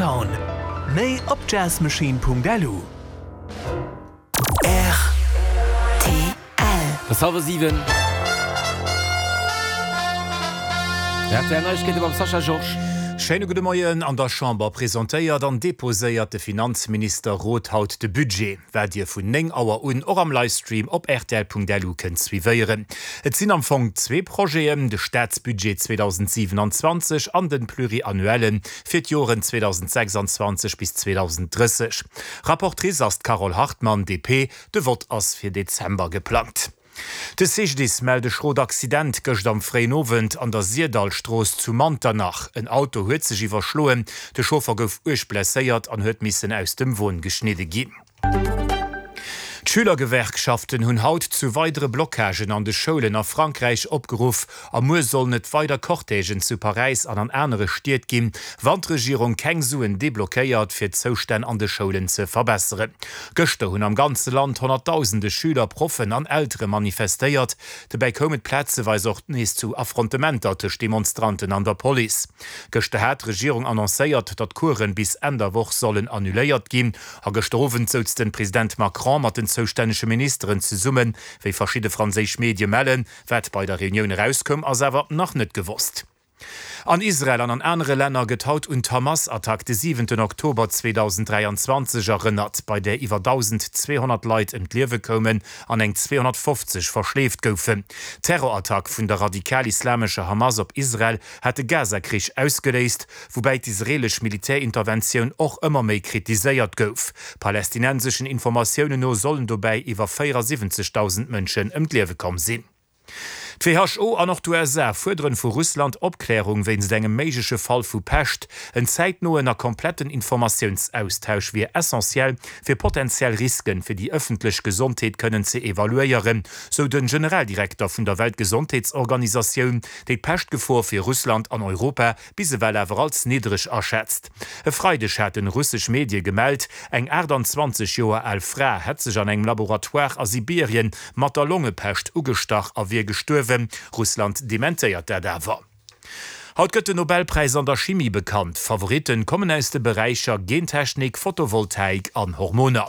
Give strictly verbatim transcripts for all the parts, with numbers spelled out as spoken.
Downtown. Méi op jazzmachine.lu. Rtl. Et ass hallwer siwen. Rtl Neiegkeete mam Sascha Georges. Schéine gudde Moien. An der Chamber presentéiert an deposéiert de Finanzminister Roth haut de Budget, wat Dir vun néng Auer un och am Livestream op rtl.lu kënnt suivéieren. Et sinn am Fong zwee Projeten, de Staatsbudget zweedausendsiewenanzwanzeg an de Pluriannuellen fir d'Joren zweedausendsechsanzwanzeg bis zweedausenddrësseg. Rapportrice ass d'Carole Hartmann, D P. De Vott ass fir Dezember geplangt. De C G D I S mellt e schrot Accident gëscht am fréien Owend an der Sirdallstrooss zu Manternach. En Auto huet sech iwwerschloen, de Chauffer gouf uerg blesséiert an huet missen aus dem Won geschnidde ginn. D'Schülergewerkschaften hunn haut zu weidere Blockagen an de Schoulen a Frankräich opgeruff a muer sollen et weider Cortègen zu Paräis an an anere Stied ginn, wann d'Regierung keng Suen deblockéiert, fir d'Zoustänn an de Schoulen ze verbesseren. Gëschter hunn am ganze Land Honnertdausende Schüler, Proffen an Eltere manifestéiert. Dobäi koum et plazeweis och nees zu Affrontementer tëscht Demonstranten an der Police. Gëschter hat d'Regierung annoncéiert, datt Coursen bis Enn der Woch sollen annuléiert ginn. A gëschter Owend souz den President Macron mat den zoustännege Ministeren zesummen, wéi verschidde franséisch Medie mellen. Wat bei der Reunioun erauskoum, ass awer nach net gewosst. An Israel an an anere Länner gëtt haut un d'Hamas-Attack de siwenten Oktober zweedausenddräianzwanzeg erënnert, bei där iwwer dausendzweehonnert Leit ëm d'Liewe koumen an eng zweehonnertfofzeg verschleeft goufen. D'Terrorattack vun der radikal-islamescher Hamas op Israel hat de Gaza-Krich ausgeléist, woubäi d'israeelesch Militärinterventioun och ëmmer méi kritiséiert gouf. Palästinenseschen Informatiounen no sollen dobäi iwwer véierasiwwenzegdausend Mënschen ëm d'Liewe komm sinn. D'W H O an och d'U S A fuerderen vu Russland Opklärung wéinst engem méigleche Fall vu Pescht. En zäitnoen a kompletten Informatiounsaustausch wier essentiell, fir potentiell Risken fir déi ëffentlech Gesondheet kënnen ze evaluéieren, sou de Generaldirekter vun der Weltgesondheetsorganisatioun, déi d'Peschtgefor fir Russland an Europa bis ewell awer als niddereg aschätzt. E Freideg haten russesch Medie gemellt, eng aachtanzwanzeg Joer al Fra hätt sech an engem Laboratoire a Sibirien mat der Longepescht ugestach a wier gestuerwen. Russland dementéiert dat awer. Haut gëtt den Nobelpräis an der Chimie bekannt. Favoritten kommen aus de Beräicher Gentechnik, Photovoltaik an Hormoner.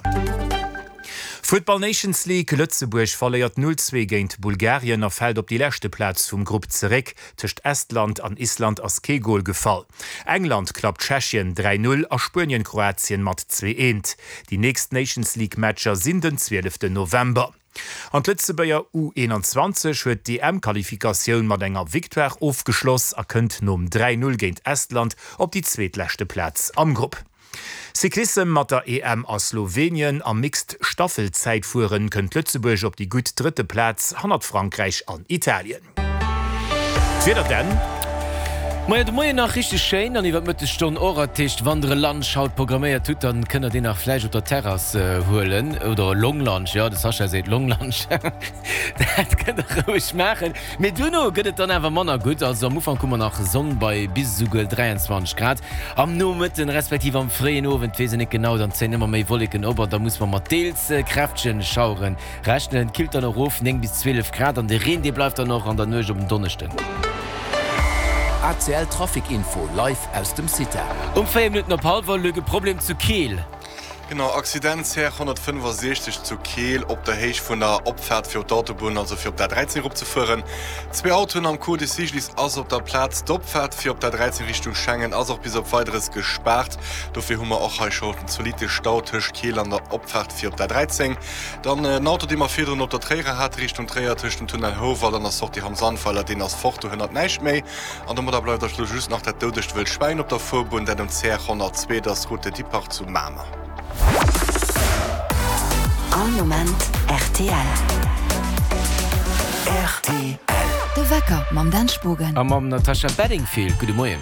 Futtball Nations League, Lëtzebuerg verléiert null zwee géint Bulgarien a fält op déi leschte Plaz vum Grupp zeréck. Tëscht Estland an Island ass kee Gol gefall. England klappt Tschechien dräi null a Spuenien Kroatien mat zwee eent. Déi nächst Nations League Matcher sinn den zwieleften November. An d'Lëtzebuerger U eenanzwanzeg huet d'E M-Qualifikatioun mat enger Victoire ofgeschloss a kënnt nom dräi null géint Estland op déi zweetleschte Plaz am Grupp. Cyclissem, Mat der E M a Slowenien am Mixed Staffelzäitfueren kënnt Lëtzebuerg op déi gutt drëtte Plaz hannert Frankräich an Italien. D'Wieder dann. Majo, de Moien nach richteg schéin an iwwer d'Mëttesstonn och. Dat heescht, wann der e Lunch haut programméiert hutt, dann kënnt der deen nach vläicht op der Terrass huelen oder e Long Lunch, jo, de Sascha seet Long Lunch, dat kënnt der roueg maachen. Mee duerno gëtt et dann awer manner gutt. Also am Ufank hu mer nach Sonn bei bis esouguer dräianzwanzeg Grad. Am Nomëtten respektiv am fréien Owend, weess een net genau, dann zéien ëmmer méi Wolleken op an da muss mer mat deels kräftegen Schauere rechnen. Et killt dann erof, néng bis zwielef Grad, an de Reen, dee bleift dann och an der Nuecht op en Donneschden. A C L Trafic Info live aus dem CITA. Um véier Minutten op hallwer, Luc, e Problem zu Keel. Genau, Accident C R honnertfënnefasiechzeg zu Keel op der Héicht vun der Opfaart fir op d'Autobunn, also fir op d'A dräizéng eropzefueren. Zwee Autoen am Coup, de C G D I S ass op der Plaz. D'Opfaart fir op d'A dräizéng Richtung Schengen ass och bis op Weideres gespaart. Dofir hu mer och hei scho en zolitte Stau tëscht Keel an der Opfaart fir op d'A dräizéng. Dann en Auto, dee mer virdrun op der Tréierer hate Richtung Tréier tëscht dem Tunnel Houwald an der Sortie Ham Sandweiler, deen ass fort, do hënnert näischt méi. An domadder bleift eis elo just nach dat doudegt wëllt Schwäin op der Fuerbunn, dat um C R honnertzwee, dat ass Route de Dippach zu Mamer. All Moment R T L. R T L. De Wecker mam Dan Spogen. A mam Natasha Bedingfield. Gudde Moien.